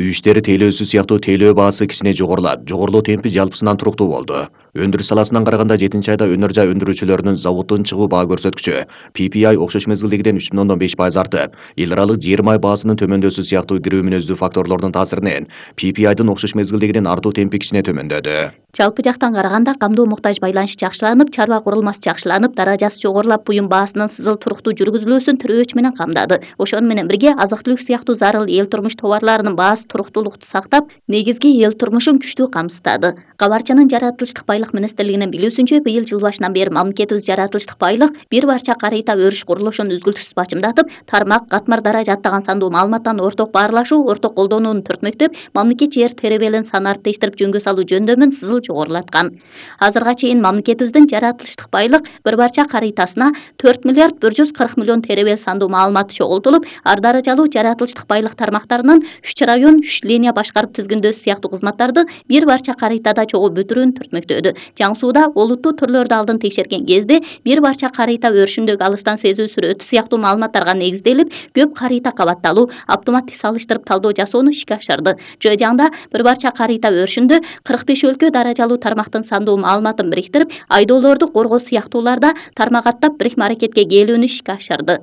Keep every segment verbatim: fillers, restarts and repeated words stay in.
Үй иштери тейлөөсү сыяктуу тейлөө баасы кичине жогорулат. Жогорулуу темпи жалпысынан туруктуу болду. Өндүрүш саласынан караганда жетинчи айда өнөр жай өндүрүүчүлөрүнүн заводдон чыгуу баа көрсөткүчү P P I окшош мезгилдегиден үч бүтүн ондон беш пайыз артып, эл аралык жыйырма ай баасынын төмөндөсү сыяктуу кирүү мүнөздүү факторлордун таасиринен P P I'дын окшош мезгилдегиден артуу темпи кичине төмөндөдү. Жалпы жактан караганда камдоо муктаж байланыш жакшыланып, чарба курулмасы жакшыланып, даражасы жогорулап, буюм баасынын сызыл туруктуу жүргүзүлүүсүн тирөөч менен камдады. Ошону менен бирге азык-түлүк сыяктуу зарыл эл турмуш товарларынын баасы туруктуулукту сактап, негизги эл турмушун күчтүү камсыздады. Кабарчанын жаратылыштык байлык министрлигинин билүүсүнчө, быйыл жыл башынан бери мамлекетибиз жаратылыштык байлык бир барча карыйта өрүш курулушун үзгүлтүксүз бачымдатып, тармак, катмар даража аттаган сандуу маалыматтан орток баарлашуу, орток колдонууну төртмөктөп, мамлекет жер теребелин сан арттештирип жөнгө салуу жөндөмүн сызыл жогорулаткан. Азырга чейин мамлекетибиздин жаратылыштык байлык бир барча карыйтасына төрт миллиард бир жүз кырк миллион теребел сандуу маалымат чогултулуп, ар даражалуу жаратылыштык байлык тармактарынын үч район, үч линия башкарып тизгиндөөсү сыяктуу кызматтарды бир барча карыйтада чогуу бүтүрүүнү түртмөктөдү. Жаңы сууда олуттуу түрлөрдү алдын текшерген кезде бир барча карыйта өрүшүндөгү алыстан сезүү сүрөтү сыяктуу маалыматтарга негизделип, көп карыйта кабатталуу, автоматтык салыштырып талдоо жасоону ишке ашырды. Жыжаңда бир барча карыйта өрүшүндө кырк беш өлкө даражалуу тармактын сандуу маалыматын бириктирип, айдоолорду коргоо сыяктууларда тармак аттап бирикме аракетке келүүнү ишке ашырды.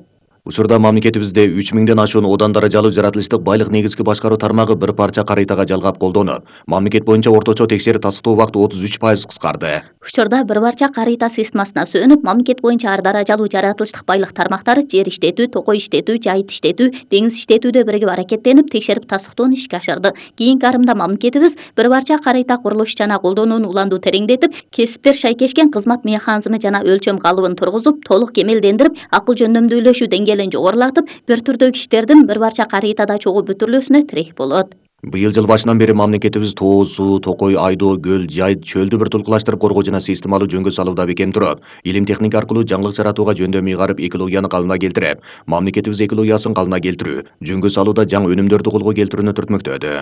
Учурда мамлекетибизде үч миңден ашуун одан даражалуу жаратылыштык байлык негизги башкаруу тармагы бир парча карыйтага жалгап колдонуп, мамлекет боюнча орточо текшерип тастыктоо убакыты отуз үч пайыз кыскарды. Учурда бир барча карыйта системасына сүйөнүп, мамлекет боюнча ар даражалуу жаратылыштык байлык тармактары жер иштетүү, токой иштетүү, жайыт иштетүү, деңиз иштетүүдө биригип аракеттенип, текшерип тастыктоону ишке ашырды. Кийинки арымда мамлекетибиз бир барча карыйта курулуш жана колдонууну уланду тереңдетип, кесиптер шайкешкен кызмат механизми жана өлчөм калыбын тургузуп, толук кемелдендирип, акыл жөндөмдүүлөшүү деңгээлин жогорулатып, бир түрдөгү иштердин бир барча карыйтада чогуу бүтүрүлүүсүнө тирек болот. Быйыл жыл башынан бери мамлекетибиз тоо, суу, токой, айдоо, көл, жайыт, чөлдү бир тулкулаштырып коргоо жана системалуу жөнгө салууда бекем туруп, илим техника аркылуу жаңылык жаратууга жөндөм ыйгарып, экологияны калыбына келтирип, мамлекетибиз экологиясын калыбына келтирүү, жөнгө салууда жаңы өнүмдөрдү колго келтирүүнү түртмөктөдү.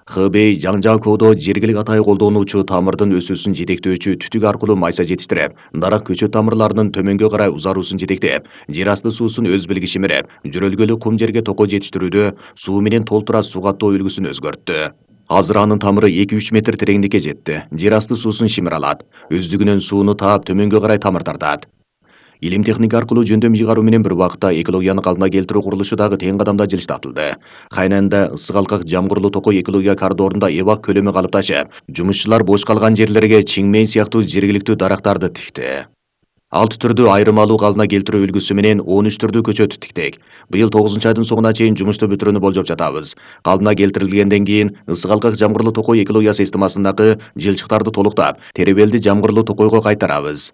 Хбей Жаңжакоодо жергилик атайы колдонуучу тамырдын өсүүсүн жетектөөчү түтүк аркылуу майса жетиштирип, дарак көчөт тамырларынын төмөнгө карай узаруусун жетектеп, жер асты суусун өз билгичи мерип, жөрөлгөлүү кум жерге токой жетиштирүүдө суу менен толтура суу каттоо үлгүсүн өзгөрттү. Азыр анын тамыры эки үч метр тереңдикке жетти. Жер асты суусун шимир алат. Өздүгүнөн сууну таап төмөнгө карай тамыр тартат. Илим техника аркылуу жөндөм ыйгаруу менен бир убакытта экологияны калыбына келтирүү курулушу дагы тең кадамда жылыштатылды. Кайнанда ысык алкак жамгырлуу токой экология коридорунда эбак көлөмү калыпташып, жумушчулар бош калган жерлерге чиңмей сыяктуу жергиликтүү дарактарды тикти. Алты түрдүү айрым алуу калыбына келтирүү үлгүсү менен он үч түрдүү көчөт тиктик. Быйыл тогузунчу айдын соңуна чейин жумушту бүтүрүүнү болжоп жатабыз. Калыбына келтирилгенден кийин ысык алкак жамгырлуу токой экология системасындагы жылчыктарды толуктап, теребелди жамгырлуу токойго кайтарабыз.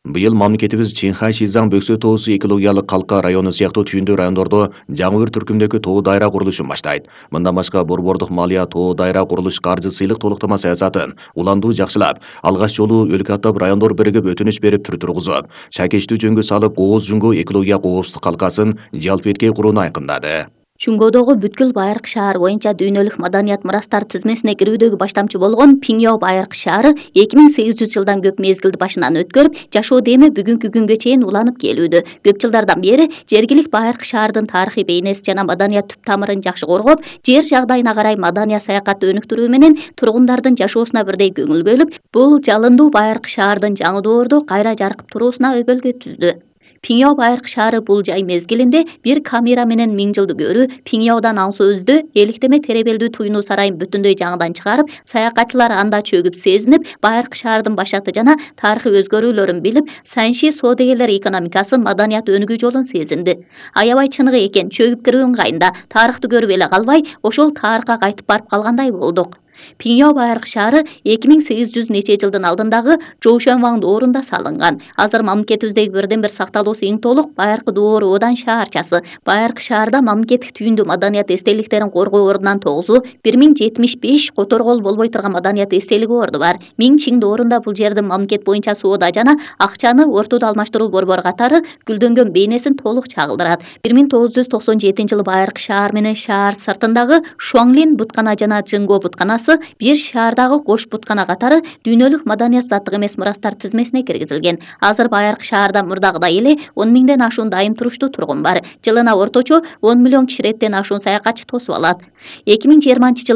Быйыл мамлекетибиз Чинхай Шизаң Бөксө тоосу экологиялык калка району сыяктуу түйүндүү райондордо жаңы бир түркүмдөгү тоо дайра курулушун баштайт. Мындан башка Борбордук малия тоо дайра курулуш каржы сыйлык толуктама саясатын уландуу жакшылап, алгач жолу өлкө аттап райондор биригип өтүнүч берип түр тургузуп, шакештүү жөнгө салып Ооз Жүнгө экология коопсуздук калкасын жалпы этке курууну айкындады. Чуңгодогу бүткүл Байыркы шаар боюнча дүйнөлүк маданият мурастар тизмесине кирүүдөгү баштамчы болгон Пиңяо Байыркы шаары эки миң сегиз жүз жылдан көп мезгилди башынан өткөрүп, жашоо деми бүгүнкү күнгө чейин уланып келүүдө. Көп жылдардан бери жергилик Байыркы шаардын тарыхый бейнеси жана маданият түп тамырын жакшы коргоп, жер жагдайына карай маданият саякатты өнүктүрүү менен тургундардын жашоосуна бирдей көңүл бөлүп, бул жалындуу Байыркы шаардын жаңы доордо кайра жаркып туруусуна өбөлгө түздү. Пиңяо Байыркы шаары бул жай мезгилинде бир камера менен миң жылды көрүү, Пиңяодан аң сөздү, эликтеме теребелдүү туйнуу сарайын бүтүндөй жаңыдан чыгарып, саякатчылар анда чөгүп сезинип, Байыркы шаардын башаты жана тарыхый өзгөрүүлөрүн билип, Санши соодагерлер экономикасы, маданият өнүгүү жолун сезинди. Аябай чыныгы экен, чөгүп кирүү ыңгайында, тарыхты көрүп эле калбай, ошол тарыхка кайтып барып калгандай болдук. Пиңяо Байыркы шаары эки миң сегиз жүз нече жылдын алдындагы Жоушенваң доорунда салынган. Азыр мамлекетибиздеги бирден бир сакталуусу эң толук Байыркы доору Одан шаарчасы. Байыркы шаарда мамлекеттик түйүндүү маданият эстеликтерин коргоо ордунан тогузу, бир миң жетимиш беш которгол болбой турган маданият эстелиги орду бар. Миң Чин доорунда бул жердин мамлекет боюнча соода жана акчаны ортодо алмаштыруу борбору катары гүлдөнгөн бейнесин толук чагылдырат. бир миң тогуз жүз токсон жетинчи жылы Байыркы шаар менен шаар сыртындагы Шуаңлин буткана жана Жинго бутканасы бир шаардагы кош буткана катары дүйнөлүк маданият заттык эмес мурастар тизмесине киргизилген. Азыр Байыркы шаарда мурдагыдай эле он миңден ашуун дайым туруштуу тургун бар. Жылына орточо он миллион киширеттен ашуун саякатчы тосуп алат. эки миң жыйырманчы жылы